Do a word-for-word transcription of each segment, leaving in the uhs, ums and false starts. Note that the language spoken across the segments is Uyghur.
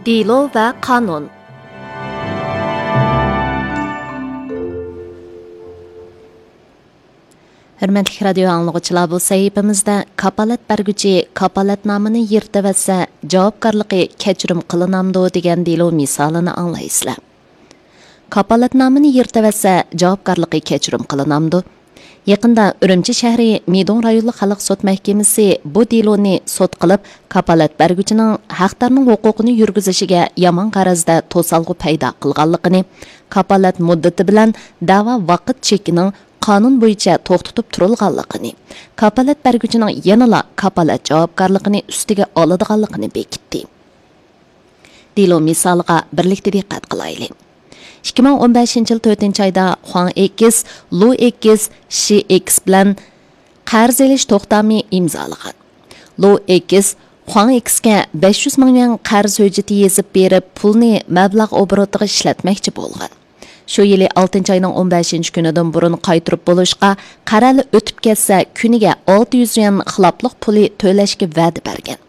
دېلو ۋە قانۇن. ھۆرمەتلىك رادىيو ئاڭلىغۇچىلار، بۇ سەھىپىمىزدە كاپالەت بەرگۈچى كاپالەتنامىنى يىرتىۋەتسە، جاۋابكارلىقى كەچۈرۈم قىلىنامدۇ دېگەن دېلو مىسالىنى ئاڭلايسىلەر. كاپالەتنامىنى يىرتىۋەتسە، جاۋابكارلىقى كەچۈرۈم قىلىنامدۇ؟ يېقىندا ئۈرۈمچى شەھىرى مىدوڭ رايونلۇق خەلق سوت مەھكىمىسى بۇ دېلونى سوت قىلىپ، كاپالەت بەرگۈچىنىڭ ھەقدارنىڭ ھوقۇقىنى يۈرگۈزۈشىگە يامان غەرەزدە توسالغۇ پەيدا قىلغانلىقىنى، كاپالەت مۇددىتى بىلەن دەۋا ۋاقىت چېكىنىڭ قانۇن بويىچە توختىتىپ تۇرۇلغانلىقىنى، كاپالەت بەرگۈچىنىڭ يەنىلا كاپالەت جاۋابكارلىقىنى ئۈستىگە ئالىدىغانلىقىنى بېكىتتى. دېلو مىسالىغا بىرلىكتە دىققەت قىلايلى. ئىككى مىڭ ئون بەشىنچى يىل تۆتىنچى ئايدا خۇاڭ ئېكس، لۇ ئېكس، شى ئېكس بىلەن قەرز ئېلىش توختامى ئىمزالىغان. لۇ ئېكس خۇاڭ ئېكسكە بەش يۈز مىڭ يۈەن قەرز ھۆججىتى يېزىپ بېرىپ، پۇلنى مەبلەغ ئوبوروتىغا ئىشلەتمەكچى بولغان. شۇ يىلى ئالتىنچى ئاينىڭ ئون بەشىنچى كۈنىدىن بۇرۇن قايتۇرۇپ بولۇشقا، قەرەلى ئۆتۈپ كەتسە، كۈنىگە ئالتە يۈز يۈەن خىلاپلىق پۇلى تۆلەشكە ۋەدە بەرگەن.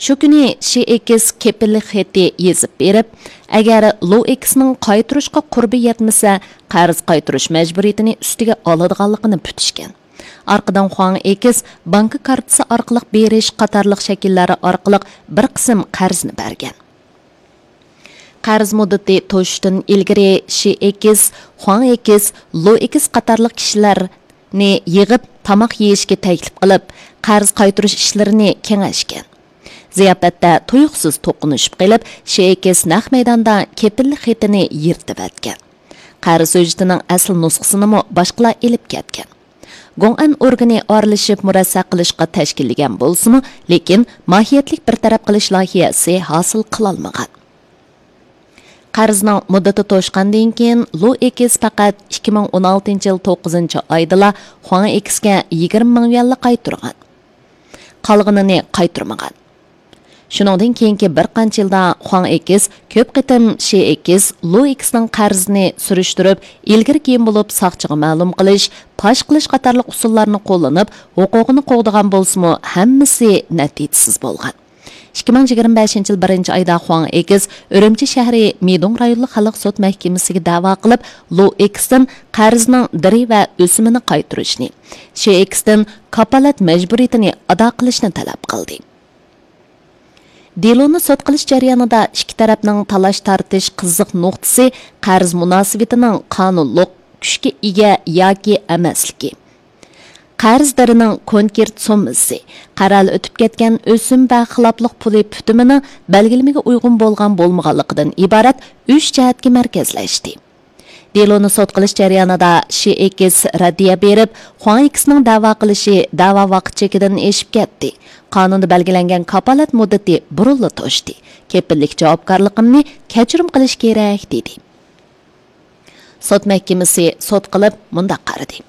شۇ كۈنى شى ئېكس كېپىللىك خېتى يېزىپ بېرىپ، ئەگەر لۇ ئېكسنىڭ قايتۇرۇشقا قۇربى يەتمىسە، قەرز قايتۇرۇش مەجبۇرىيىتىنى ئۈستىگە ئالىدىغانلىقىنى پۈتۈشكەن. ئارقىدىن خۇاڭ ئېكس بانكا كارتىسى ئارقىلىق بېرىش قاتارلىق شەكىللەر ئارقىلىق بىر قىسىم قەرزنى بەرگەن. قەرز مۇددىتى توشۇشتىن ئىلگىرى شى ئېكس، خۇاڭ ئېكس، لۇ ئېكس قاتارلىق كىشىلەرنى يىغىپ تاماق يېيىشكە تەكلىپ قىلىپ، قەرز قايتۇرۇش ئىشلىرىنى كېڭەشكەن. زىياپەتتە تۇيۇقسىز توقۇنۇشۇپ قېلىپ، شى ئېكس نەق مەيداندا كېپىللىك خېتىنى يىرتىۋەتكەن. قەرز ھۆججىتىنىڭ ئەسلى نۇسخىسىنىمۇ باشقىلار ئېلىپ كەتكەن. گوڭئەن ئورگىنى ئارىلىشىپ مۇرەسسە قىلىشقا تەشكىللىگەن بولسىمۇ، لېكىن ماھىيەتلىك بىر تەرەپ قىلىش لايىھەسى ھاسىل قىلالمىغان. قەرزنىڭ مۇددىتى توشقاندىن كېيىن، لۇ ئېكس پەقەت ئىككى مىڭ ئون ئالتىنچى يىل توققۇزىنچى ئايدىلا خۇاڭ ئېكسكە يىگىرمە مىڭ يۈەنلا قايتۇرغان. قالغىنىنى قايتۇرمىغان. شۇنىڭدىن كېيىنكى بىر قانچە يىلدا خۇاڭ ئېكس كۆپ قېتىم شى ئېكس، لۇ ئېكسنىڭ قەرزىنى سۈرۈشتۈرۈپ، ئىلگىرى كېيىن بولۇپ ساقچىغا مەلۇم قىلىش، پاش قىلىش قاتارلىق ئۇسۇللارنى قوللىنىپ، ھوقۇقىنى قوغدىغان بولسىمۇ، ھەممىسى نەتىجىسىز بولغان. ئىككى مىڭ يىگىرمە بەشىنچى يىل بىرىنچى ئايدا خۇاڭ ئېكس ئۈرۈمچى شەھىرى مىدوڭ رايونلۇق خەلق سوت مەھكىمىسىگە دەۋا قىلىپ، لۇ ئېكستىن قەرزنىڭ دىرى ۋە ئۆسۈمىنى قايتۇرۇشنى، شى ئېكستىن كاپالەت مەجبۇرىيىتىنى ئادا قىلىشنى تەلەپ قىلدى. دېلونى سوت قىلىش جەريانىدا ئىككى تەرەپنىڭ تالاش-تارتىش قىزىق نۇقتىسى قەرز مۇناسىۋىتىنىڭ قانۇنلۇق كۈچكە ئىگە ياكى ئەمەسلىكى، قەرزدارنىڭ كونكرېت سوممىسى، قەرەلى ئۆتۈپ كەتكەن ئۆسۈم ۋە خىلاپلىق پۇلى پۈتۈمىنىڭ بەلگىلىمىگە ئۇيغۇن بولغان بولمىغانلىقىدىن ئىبارەت ئۈچ جەھەتكە مەركەزلەشتى. دېلونى سوت قىلىش جەريانىدا شى ئېكس رەددىيە بېرىپ، خۇاڭ ئېكسنىڭ دەۋا قىلىشى دەۋا ۋاقىت چېكىدىن ئېشىپ كەتتى. قانۇندا بەلگىلەنگەن كاپالەت مۇددىتى بۇرۇنلا توشتى. كېپىللىك جاۋابكارلىقىمنى كەچۈرۈم قىلىش كېرەك، دېدى. سوت مەھكىمىسى سوت قىلىپ مۇنداق قارىدى: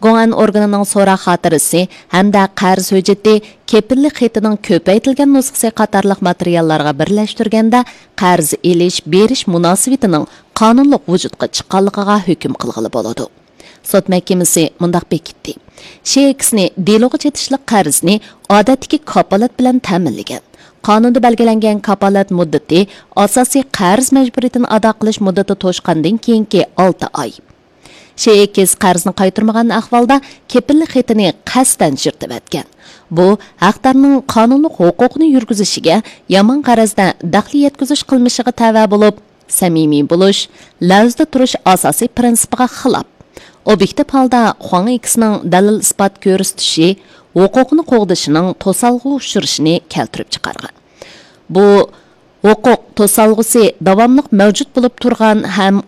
گوڭئەن ئورگىنىنىڭ سوراق خاتىرىسى ھەمدە قەرز ھۆججىتى، كېپىللىك خېتىنىڭ كۆپەيتىلگەن نۇسخىسى قاتارلىق ماتېرىياللارغا بىرلەشتۈرگەندە، قەرز ئېلىش بېرىش مۇناسىۋىتىنىڭ قانۇنلۇق ۋۇجۇدقا چىققانلىقىغا ھۆكۈم قىلغىلى بولىدۇ. سوت مەھكىمىسى مۇنداق بېكىتتى: شى ئېكسنى دېلوغا چېتىشلىق قەرزنى ئادەتتىكى كاپالەت بىلەن تەمىنلىگەن. قانۇندا بەلگىلەنگەن كاپالەت مۇددىتى ئاساسىي قەرز مەجبۇرىيىتىنى ئادا قىلىش مۇددىتى توشقاندىن كېيىنكى ئالتە ئاي. شى ئېكس قەرزنى قايتۇرمىغان ئەھۋالدا كېپىللىك خېتىنى قەستەن يىرتىۋەتكەن. بۇ ھەقدارنىڭ قانۇنلۇق ھوقۇقىنى يۈرگۈزۈشىگە يامان غەرەزدە دەخلى يەتكۈزۈش قىلمىشىغا تەۋە بولۇپ، سەمىمىي بولۇش، لەۋزىدە تۇرۇش ئاساسىي پىرىنسىپىغا خىلاپ. ئوبيېكتىپ ھالدا خۇاڭ ئېكسنىڭ دەلىل-ئىسپات كۆرسىتىشى، ھوقۇقىنى قوغدىشىنىڭ توسالغۇغا ئۇچرىشىنى كەلتۈرۈپ چىقارغان. بۇ ھوقۇق توسالغۇسى داۋاملىق مەۋجۇت بولۇپ تۇرغان ھەم